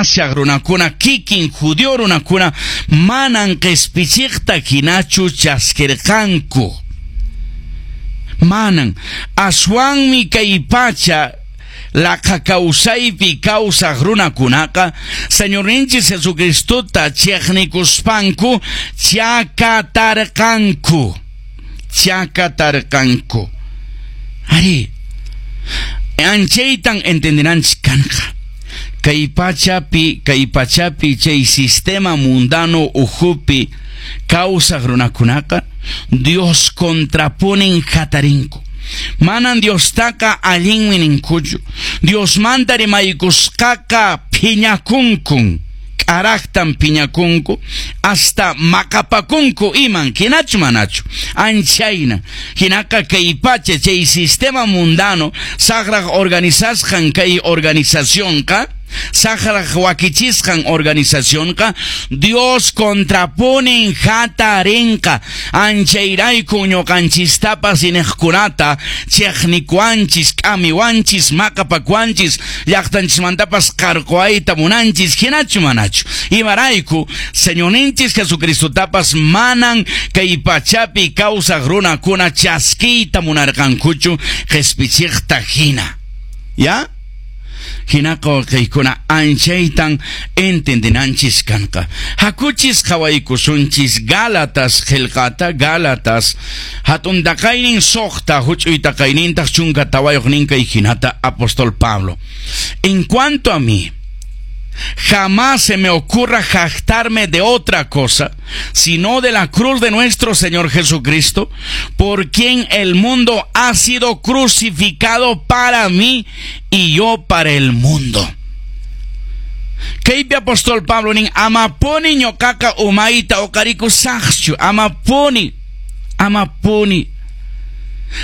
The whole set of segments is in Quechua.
kashaq runakuna, kikin judío runakuna, manan qespichiqta hinachu chaskirqanku. Manan, aswanmi kay pacha laqha kawsaypi kawsaq runakunaqa Señorninchis Jesucristota chiqnikuspanku chakatarqanku. Chakatarqanku. Ari, anchaytan entenderánchis kanqa. Kay pachapi chay sistema mundano ukhupi kawsaq runakunaqa Dios contraponen hatarinku. Manan Diostaqa allinmi ninkuchu. Diosmanta rimaykusqaqa phiñakunkun. K'araqtan phiñakunku, hasta maqapakunku iman, hinachu manachu? Anchayna. Hinaqa kay pacha chay sistema mundano saqraq organizasqan kay organizacionqa, saqraq wakichisqan organizacionqa Dios contraponen hatarinqa. Anchayrayku ñuqanchistapas iniqkunata chiqnikuwanchis, k'amiwanchis, maqapakuwanchis, llaqtanchismantapas qarquwayta munanchis, hinachu manachu? Imarayku Señorninchis Jesucristotapas manan kay pachapi kawsaq runakuna chaskiyta munarqankuchu qespichiqta hina. ¿Ya? Hinaqa kaykuna anchaytan entendenanchis kanqa. Hakuchis qhawaykusunchis Gálatas qillqata, Gálatas hatun taqaynin 6, huch'uy taqaynintaq 14 kay hinata apóstol Pablo. En cuanto a mí, jamás se me ocurra jactarme de otra cosa, sino de la cruz de nuestro Señor Jesucristo, por quien el mundo ha sido crucificado para mí y yo para el mundo. Kaypi apóstol Pablo nin amapuni ñuqaqa umayta uqarikusaqchu, amapuni, amapuni.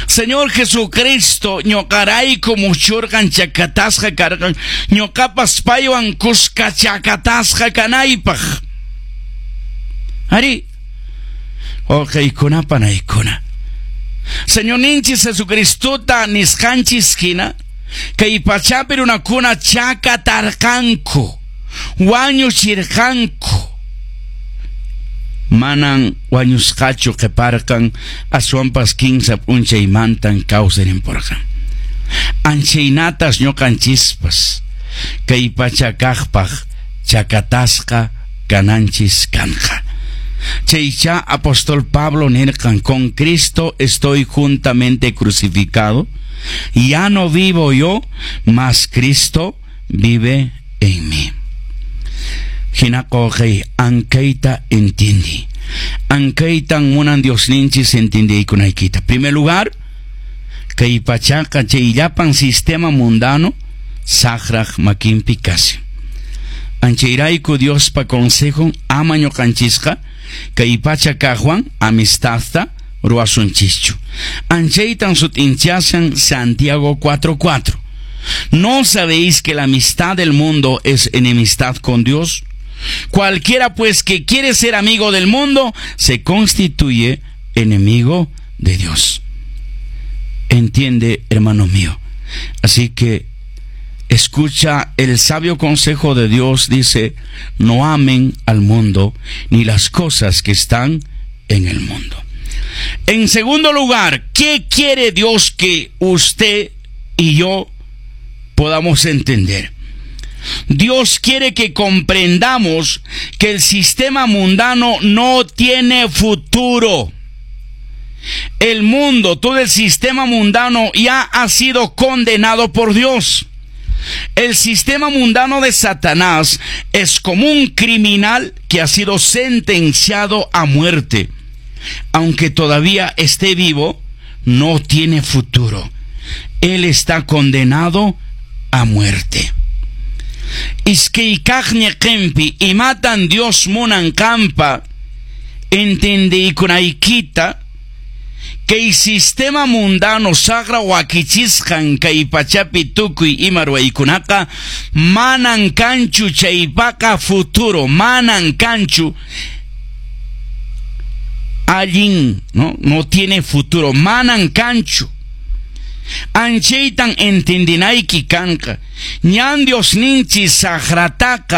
Señor Jesucristo ñuqarayku muchurqan, chakatasqa karqan, ñuqapas paywan kuska chakatasqa kanaypaq. Ari, wawqiykuna panaykuna, Señorninchis Jesucristota nisqanchis hina kay pachapi runakuna chakatarqanku, wañuchirqanku. Manan wañusqachu qhiparqan, aswanpas 3 p'unchaymantan kawsarimurqan. Anchaynatas ñuqanchispas kay pacha kaqpaq chakatasqa kananchis kanqa. Chaycha apóstol Pablo nirqan, con Cristo estoy juntamente crucificado, ya no vivo yo, mas Cristo vive en mí. Hinaqa ankayta entendí. Ankaytan munan Diosninchis entendiykunaykita. Primer lugar, kay pachaqa chay llapan sistema mundano saqraq makinpi kashan. Anchayrayku Diospa consejo ama ñuqanchisqa kay pacha kaqwan amistadta ruwasunchischu. Anchaytan sut'inchashan Santiago 4:4. ¿No sabéis que la amistad del mundo es enemistad con Dios? Cualquiera pues que quiere ser amigo del mundo se constituye enemigo de Dios. Entiende, hermano mío. Así que escucha el sabio consejo de Dios. Dice, no amen al mundo ni las cosas que están en el mundo. En segundo lugar, ¿qué quiere Dios que usted y yo podamos entender? Dios quiere que comprendamos que el sistema mundano no tiene futuro. El mundo, todo el sistema mundano ya ha sido condenado por Dios. El sistema mundano de Satanás es como un criminal que ha sido sentenciado a muerte. Aunque todavía esté vivo, no tiene futuro. Él está condenado a muerte. Iskaykaq ñiqinpi imatan Dios munan qampa entendiykunaykita kay sistema mundano saqra wakichisqan kay pachapi tukuy ima ruwaykunaqa manan kanchu chaypaqa futuro, manan kanchu allin, ¿no? No tiene futuro, manan kanchu. Anchaytan entendinayki kanqa. Ñan Diosninchis saqrataqa